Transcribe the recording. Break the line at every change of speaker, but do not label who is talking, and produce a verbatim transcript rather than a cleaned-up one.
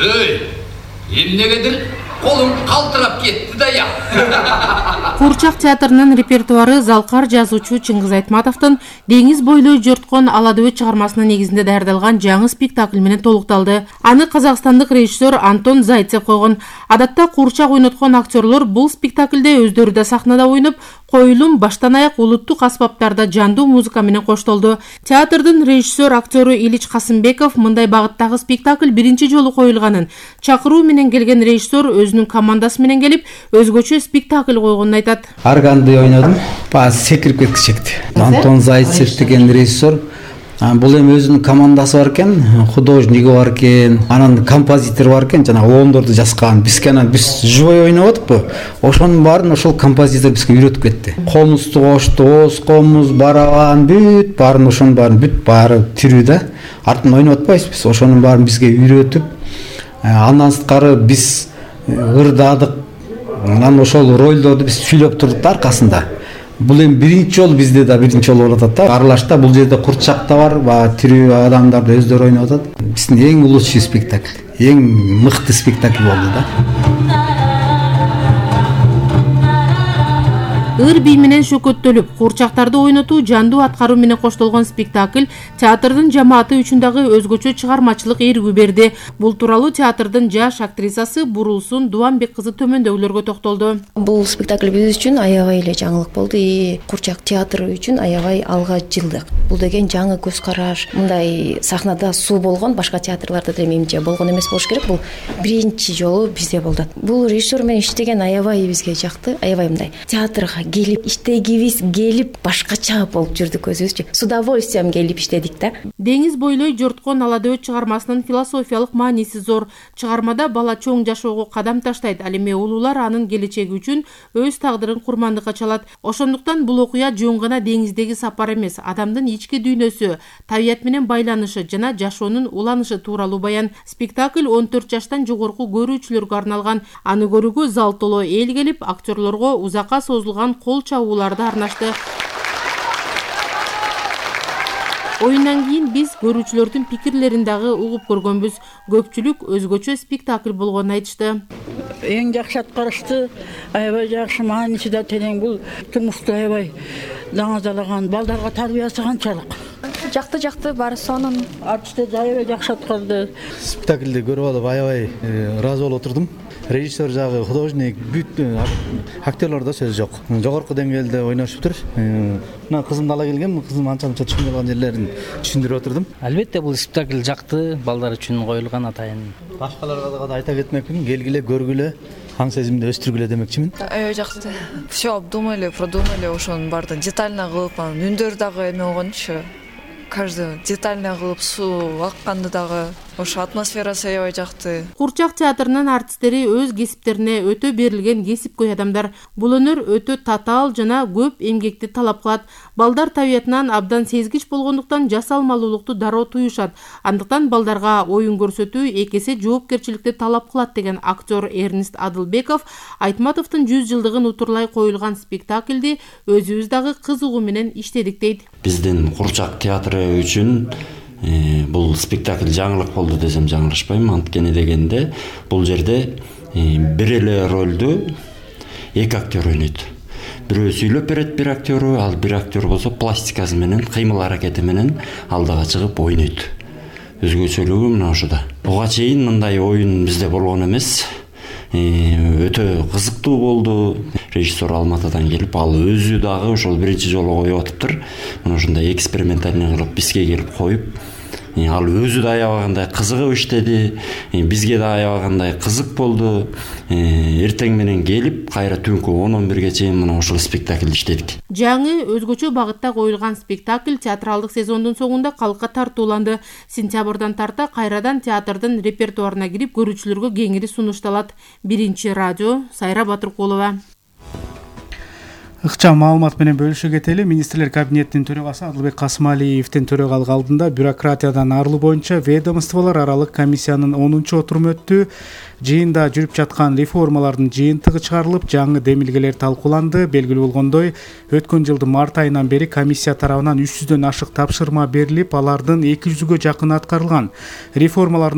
Ey, эмнегедир колум калтырап кетти да я.
Куурчак театрынын репертуары залкар жазуучу Чыңгыз Айтматовдун Деңиз бойлой жорткон ала дөбөт чыгармасынын негизинде даярдалган жаңы спектакль менен толукталды. Аны казакстандык режиссер Антон Зайцев койгон. Адатта куурчак ойноткон актерлор бул спектаклде өздөрү да сахнада ойноп, коюлум баштан аяк улуттук аспаптарда жандуу музыка менен коштолду. Театрдын режиссер актёру Илич Касымбеков мындай багыттагы спектакль биринчи жолу коюлганын, чакыруу менен келген режиссер өзүнүн командасы менен келип, өзгөчө спектакль койгонун айтат.
Арганды ойнодум. Бааз секирип кеткичекти. Антон Зайцев деген режиссер. Бул эми өзүнүн командасы бар экен, художниги бар экен, анан композитор бар экен, жана оондорду жазган. Бизге анан биз живой ойноп атпы. Ошонун баарын ошол композитор бизге үйрөтүп кетти. Комузду кошту, оз комуз, барабан, бүт баарын ошонун баарын бүт баары тирүү да. Артын ойноп атпайбыз. Ошонун баарын бизге үйрөтүп, андан сырткары биз ырдадык. Анан ошол ролдорду биз сүйлөп турдук да аркасында. Бул эми биринчи жолу бизде да биринчи жолу болуп атат да. Аралашта бул жерде курчак да бар, баягы тирүү адамдар да өздөрү ойноп атат. Биздин эң лучший спектакль, эң мыкты спектакль болду да.
Ыр бий менен шөкөттөлүп, куурчактарды ойнотуу жандуу аткаруу менен коштолгон спектакль театрдын жамааты үчүн дагы өзгөчө чыгармачылык эргүү берди. Бул тууралуу театрдын жаш актрисасы Бурулсун Дубанбек кызы төмөндөгүлөргө токтолду.
Бул спектакль биз үчүн аябай эле жаңылык болду. И куурчак театры үчүн аябай алга жылдык. Бул деген жаңы көз караш. Мындай сахнада суу болгон, башка театрларда да менимче болгон эмес болуш керек. Бул биринчи жолу бизде болду. Бул режиссер менен иштеген аябай бизге жакты. Аябай мындай театрга келип иштегибиз келип башкача болуп жүрдүк өзүбүзчү. С удовольствием келип иштедик да.
Деңиз бойлой жорткон ала дөбөт чыгармасынын философиялык мааниси зор. Чыгармада бала чоң жашоого кадам таштайт, ал эми улуулар анын келечеги үчүн өз тагдырын курмандыкка чалат. Ошондуктан бул окуя жөн гана деңиздеги сапар эмес, адамдын ички дүйнөсү, табият менен байланышы жана жашоонун уланышы тууралуу баян. Спектакль он төрт жаштан жогорку көрүүчүлөргө арналган. Аны көрүүгө зал толо эл келип, актерлорго узакка созулган кол чабууларды арнашты. Оюндан кийин биз көрүүчүлөрдүн пикирлерин дагы угуп көргөнбүз. Көпчүлүк өзгөчө спектакль болгонун айтышты.
Эң жакшы аткарышты, аябай жакшы, мааниси да терең. Бул турмушту аябай даңазалаган, балдарга тарбиясы канчалык.
Жакты жакты баары сонун.
Артисттер аябай жакшы аткарды.
Спектакльди көрүп алып аябай ыраазы болуп отурдум. Режиссер жагы, художник, бүт актерлордо сөз жок. Жогорку деңгээлде ойношуптур. Мына кызымды ала келгем, кызым анча-мынча түшүнбөй калган жерлерин түшүндүрүп отурдум.
Албетте бул спектакль жакты, балдар үчүн коюлган атайын.
Башкаларга да айта кетмекмин, келгиле, көргүлө, аң сезимди өстүргүлө демекчимин.
Аябай жакты. Всё обдумали, продумали, ошонун баардыгын детально кылып, үндөр дагы эме болгончу. Каждый детально кылып, суу акканды дагы, ошо атмосферасы аябай жакты.
Куурчак театрынын артисттери өз кесиптерине өтө берилген кесипкөй адамдар. Бул өнөр өтө татаал жана көп эмгекти талап кылат. Балдар табиятынан абдан сезгич болгондуктан жасалмалуулукту дароо туюшат. Андыктан балдарга оюн көрсөтүү эки эсе жоопкерчиликти талап кылат деген актер Эрнест Адылбеков Айтматовдун жүз жылдыгын утурлай коюлган спектакльди өзүбүз дагы кызыгуу менен иштедик дейт.
Биздин Куурчак театры үчүн Э, бул спектакль жаңылык болду десем жаңылышпайм. Анткени дегенде бул жерде э, бир эле ролду эки актер ойнойт. Бирөө сүйлөп берет бир актеру, ал бир актер болсо пластикасы менен, кыймыл аракети менен алдыга чыгып ойнойт. Өзгөчөлүгү мына ошода. Буга чейин мындай оюн бизде болгон эмес. Э, өтө кызыктуу болду. Режиссер Алматыдан келип, ал өзү дагы ошол биринчи жолу коюп атыптыр. Мына ушундай экспериментальный кылып бизге келип коюп, ал өзү да аябагандай кызыгып иштеди, бизге да аябагандай кызык болду. Эртең менен келип, кайра түнкү он он бирге чейин мына ушул спектакль иштедик.
Жаңы өзгөчө багытта коюлган спектакль театралдык сезондун соңунда калкка тартууланды. Сентябрдан тарта кайрадан театрдын репертуарына кирип, көрүүчүлөргө кеңири сунушталат. Биринчи радио, Сайра Батыркулова.
Ыкчам маалымат менен бөлүшө кетели. Министрлер кабинетинин төрагасы Адылбек Касымалиевдин төрагалык алдында бюрократиядан арылуу боюнча ведомстволор аралык комиссиянын онунчу отуруму өттү. Жыйында жүрүп жаткан реформалардын жыйынтыгы чыгарылып, жаңы демилгелер талкууланды. Белгилүү болгондой, өткөн жылдын март айынан бери комиссия тарабынан үч жүздөн ашык тапшырма берилип, алардын эки жүзгө жакыны аткарылган. Реформалардын